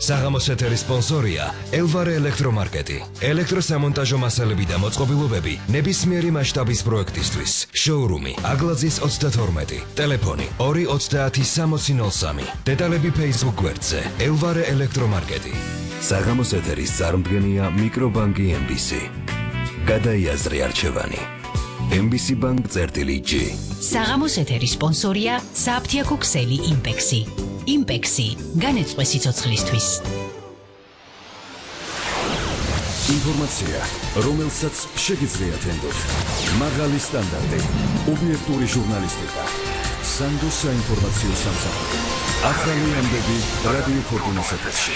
საღამოს ეთერის სპონსორია ელვარე ელექტრომარკეტი. ელექტროსამონტაჟო მასალები და მოწყობილობები ნებისმიერი მასშტაბის პროექტისთვის. შოურუმი აგლაძის 32. ტელეფონი 230-6003. დეტალები Facebook გვერდზე ელვარე ელექტრომარკეტი. საღამოს ეთერის წარმდგენია მიკრობანკი MBC. გადაიაზრე არჩევანი. MBC Bank წერტილი G. საღამოს ეთერის სპონსორია საფთიაქო ქსელი იმპექსი. იმპექსი განეწყვე სიცოცხლისთვის. ინფორმაცია, რომელსაც შეგიძლიათ ენდოთ. მაღალი სტანდარტი, ობიექტური ჟურნალისტიკა. სანდოს საინფორმაციო სამსახური. ახალი ამბები რადიო ფორტუნას ეთერში.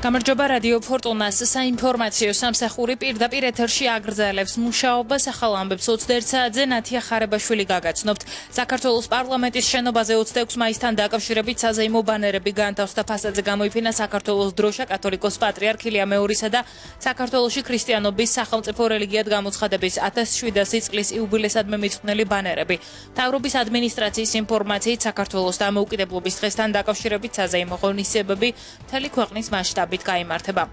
გამარჯობა რადიო ფორტუნას საინფორმაციო სამსახური პირდაპირ ეთერში აგრძელებს მუშაობას ახალ ამბებს 21 საათზე ნათია ხარებაშვილი გაგაცნობთ. საქართველოს პარლამენტის შენობაზე 26 მაისთან დაკავშირებით საზეიმო ბანერები განთავსდა. ფასადზე გამოიფინა საქართველოს დროშა, კათოლიკოს პატრიარქ ილია მეორის და საქართველოში ქრისტიანობის სახელმწიფო რელიგიად გამოცხადების 1700 წლის იუბილესადმე მიძღვნილი ბანერები. მთავრობის ადმინისტრაციის ინფორმაციით საქართველოს დამოუკიდებლობის დღესთან დაკავშირებით საზეიმო ღონისძიებები მთელი ქვეყნის მასშტაბით გაიმართება.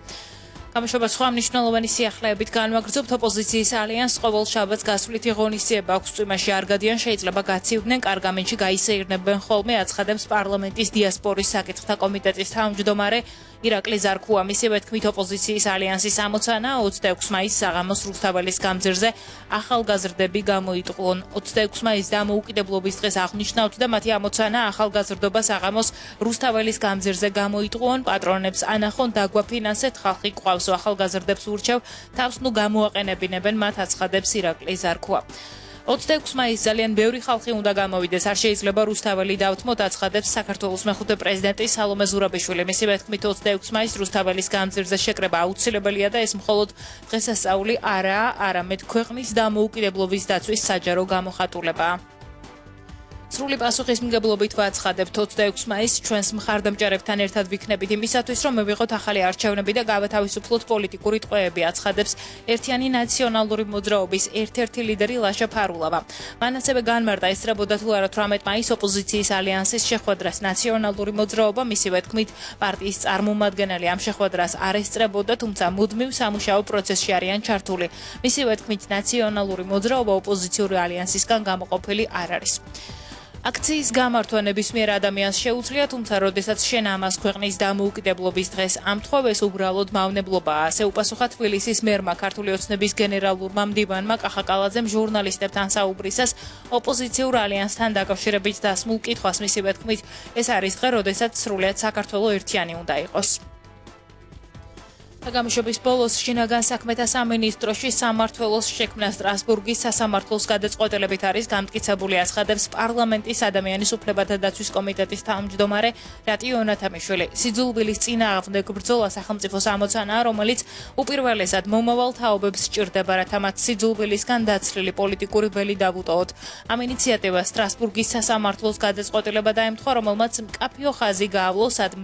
გამოშვება სხვა მნიშვნელოვანი სიახლეებით განვაგრძობთ. ოპოზიციის ალიანსს ყოველ შაბათს გასვლითი ღონისძიება აქვს. წვიმაში არ გადიან, შეიძლება გაცივდნენ, კარგამენში გაისეირნებენ ხოლმე, აცხადებს პარლამენტის დიასპორის საკითხთა კომიტეტის თავმჯდომარე ირაკლი ზარქუა. მისივე თქმით, ოპოზიციის ალიანსის ამოცანა 26 მაისს საღამოს რუსთაველის გამზირზე ახალგაზრდები გამოიტყვონ. 26 მაისს დამოუკიდებლობის დღეს აღნიშნავთ და მათი ამოცანა ახალგაზრდობა საღამოს რუსთაველის გამზირზე გამოიტყვონ. პატრონებს ანახონ, დაგვაფინანსეთ, ხალხი ყავს. ახალგაზრდებს ურჩევ, თავს ნუ გამოაყენებინებენ, მათ აცხადებს ირაკლი ზარქუა. 26 მაისს ძალიან ბევრი ხალხი უნდა გამოვიდეს, არ შეიძლება რუსთაველი დავთმოთ, აცხადებს საქართველოს მეხუთე პრეზიდენტი სალომე ზურაბიშვილი. მისივე თქმით, 26 მაისს რუსთაველის გამზირზე შეკრება აუცილებელია და ეს მხოლოდ დღესასწაული არაა, არამედ ქვეყნის დამოუკიდებლობის დაცვის საჯარო გამოხატულებაა. სრული პასუხისმგებლობით ვაცხადებთ 26 მაისს ჩვენს მხარდამჭერებთან ერთად ვიქნებით იმისათვის, რომ მივიღოთ ახალი არჩევნები და გავათავისუფლოთ პოლიტიკური ტყვეები, აცხადებს ერთიანი ნაციონალური მოძრაობის ერთ-ერთი ლიდერი ლაშა ფარულავა. მან ასევე განმარტა, ესწრებოდა თუ არა 18 მაისს ოპოზიციის ალიანსის შეხვედრას ნაციონალური მოძრაობა. მისივე თქმით, პარტიის წარმომადგენელი ამ შეხვედრას არ ესწრებოდა, თუმცა მუდმივ სამუშაო პროცესში არიან ჩართული. მისივე თქმით, ნაციონალური მოძრაობა ოპოზიციური ალიანსისგან გამოყოფილი არ არის. აქციის გამართვა ნებისმიერ ადამიანს შეუძლია, თუმცა როდესაც შენ ამას ქვეყნის დამოუკიდებლობის დღეს ამთხოვეს, უბრალოდ მავნებლობაა. ასე უპასუხა თბილისის მერმა ქართული ოცნების გენერალურმა მდივანმა კახაკალაძემ ჟურნალისტებთან საუბრისას ოპოზიციურ ალიანსთან დაკავშირებით დასმულ კითხვას. მისივე თქმით, ეს არის დღე, როდესაც სრულიად საქართველო ერთიანი უნდა იყოს. გამოშვების ბოლოს შინაგან საქმეთა სამინისტროში სამმართველოს შექმნა სტრასბურგის სასამართლოს გადაწყვეტილებით არის გამტკიცებული, აცხადებს პარლამენტის ადამიანის უფლებათა დაცვის კომიტეტის თავმჯდომარე რატი იონათამიშვილი. სიძულვილის წინააღმდეგ ბრძოლა სახელმწიფოს ამოცანაა, რომელიც უპირველესად მომავალ თაობებს სჭირდება, რათა მათ სიძულვილისგან დაცლილი პოლიტიკური ველი დავუტოვოთ. ამ ინიციატივას სტრასბურგის სასამართლოს გადაწყვეტილება დაემთხვა, რომელმაც მკაფიო ხაზი გაავლო, სად